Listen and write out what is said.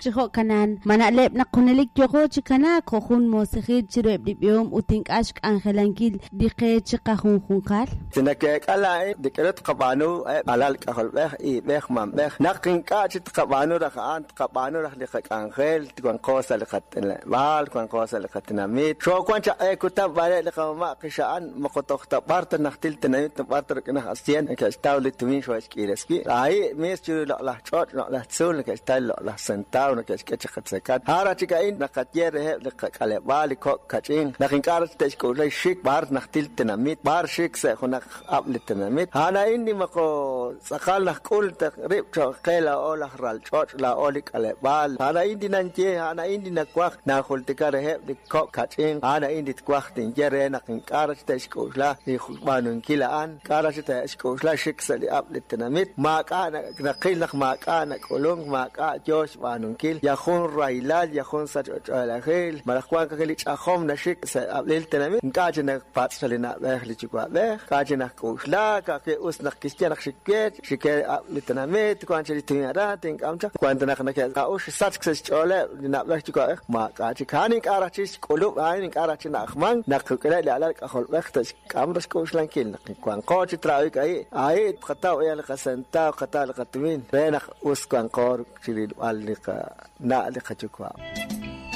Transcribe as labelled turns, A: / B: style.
A: chi jo'kanan? Ma na'leb' naq junelik yooqo chi kanaak jo' jun moosejil chiruheb' li b'ihom ut ink'a' xk'anjelankil li qe chiqajunjunqal?
B: Li nake'eek'a laa'in, li k'aru tqab'aanu eb' alal k'ajolb'ej, iib'ej, mamb'ej, naq ink'a' chik tqab'aanu raj a'an, tqab'aanu raj li qak'anjel, wanqo sa' li qat'ileb'aal, wanqo sa' li qatinamit. Xoowank chaq q'e kutan b'are' li qamama' qixa'an, moko toj ta b'ar ta najtil tenamit, b'ar ta rik'in aj asyent neke'xtaw li tumin xoohe'xk'iires wi'. Ahi' mis chiru li loq'laj ch'och', loq'laj tzuul neke'xtaw li loq'laj sentaw neke'xk'e chi qatzekat. A'an raj chik a'in naqaye reheb' li qak'aleb'aal li kok' kach'in, naq ink'a' raj te'xk'uula xik b'ar najtil tenamit, b'ar xik sa' junaq ab' li tenamit. A'an a'in li moko tz'aqal najk'ul ta rib' cho'q qe laa'o laj ral ch'och', laa'o li k'aleb'aal. A'an a'in li nanye, a'an a'in li nawaj najultika reheb' li kok' kach'in, a'an a'in li twaj tinye re naq ink'a' raj te'xk'uula li xb'aanunkil a'an. K'a' raj te'xk'oxla xik sa' li ab'l li tenamit? Maak'a' naqil naq maak'a' nak'ulunk, maak'a' yo xb'aanunkil, yal jun rahilal, yal jun sachb'ach'oolejil, malaj wank ajwi' li ch'ajom naxik sa' ab'lil tenamit. Ink'a' chik napatz' li na'b'ej li yuwa'b'ej, k'a' chik najk'oxla, ka'ajwi' us naq kixye naq xik we, xik we ab'l li tenamit, wank chik li tumin aran, tink'am chaq. Wank ta naq neke'k'a'uxl sachk sa' xch'ooleb' li na'b'ej yuwa'b'ej, maak'a' chik. A'an ink'a' raj chik xk'ulub', a'an ink'a' raj chik na'ajmank naq rik'ineb' li alal k'ajolb'ej K'am raj xk'oxlankil naq wanqo chi traawik ahi', ahi' tqataw li qasentaw, qataw li qatumin re naq us wanqo chi rilb'al li qana' li qayuwa'.